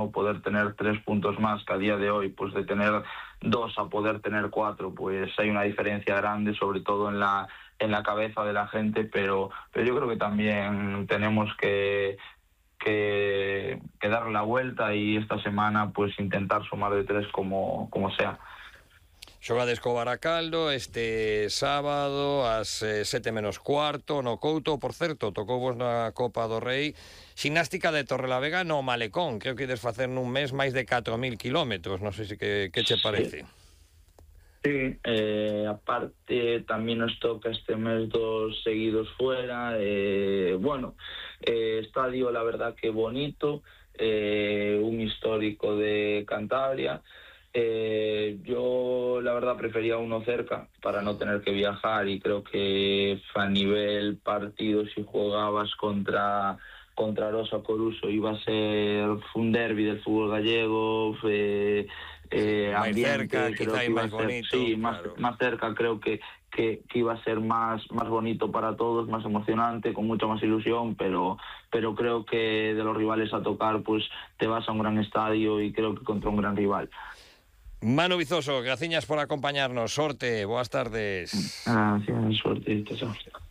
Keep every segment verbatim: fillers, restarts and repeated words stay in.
poder tener tres puntos más que a día de hoy, pues de tener dos a poder tener cuatro, pues hay una diferencia grande, sobre todo en la en la cabeza de la gente, pero pero yo creo que también tenemos que que, que dar la vuelta y esta semana pues intentar sumar de tres como, como sea. Xogades co Baracaldo este sábado ás eh, sete menos cuarto no Couto. Por certo, tocou vos na Copa do Rei ximnástica de Torrelavega no Malecón. Creo que ides facer nun mes máis de catro mil kilómetros. Non sei se que, que che parece. Sí, eh, aparte también nos toca este mes dos seguidos fuera. Eh, bueno, eh, estadio la verdad que bonito, eh, un histórico de Cantabria. Eh, yo la verdad prefería uno cerca para no tener que viajar, y creo que a nivel partido, si jugabas contra contra Rosa Coruso, iba a ser un derbi del fútbol gallego, eh, eh, máis ambiente, cerca, creo quizá que iba máis a ser, bonito, sí, claro. más, más cerca, creo que, que, que iba a ser más, más bonito para todos, más emocionante, con mucha más ilusión, pero, pero creo que de los rivales a tocar, pues te vas a un gran estadio y creo que contra un gran rival. Manu Vizoso, graciñas por acompañarnos. Sorte, boas tardes. Gracias, suerte.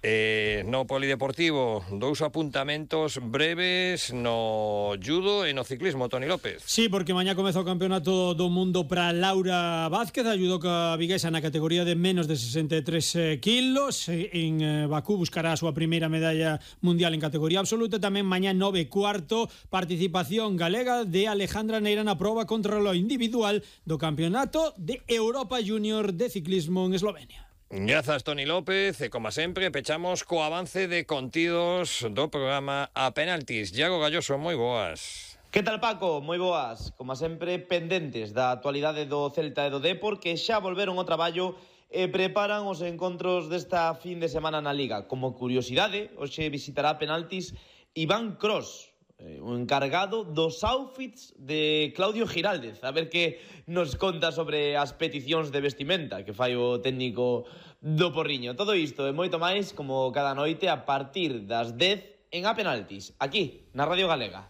Eh, no polideportivo, dous apuntamentos breves no judo e no ciclismo, Toni López. Sí, porque mañá comeza o campeonato do mundo para Laura Vázquez, a judoca viguesa na categoría de menos de sesenta e tres kilos. En Bakú buscará a súa primeira medalla mundial en categoría absoluta. Tamén mañá nove e cuarto, participación galega de Alejandra Neira na proba contra lo individual do campeonato de Europa Junior de ciclismo en Eslovenia. Grazas, Toni López, e como sempre pechamos co avance de contidos do programa A Penaltis. Iago Galloso, moi boas. Que tal, Paco? Moi boas. Como sempre, pendentes da actualidade do Celta e do Depor, que xa volveron ao traballo e preparan os encontros desta fin de semana na Liga. Como curiosidade, hoxe visitará Penaltis Iván Cros, o encargado dos outfits de Claudio Giraldez. A ver que nos conta sobre as peticións de vestimenta que fai o técnico do Porriño. Todo isto e moito máis, como cada noite, a partir das dez en A Penaltis, aquí, na Radio Galega.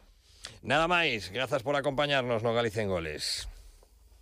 Nada máis, grazas por acompañarnos no Galicia en Goles.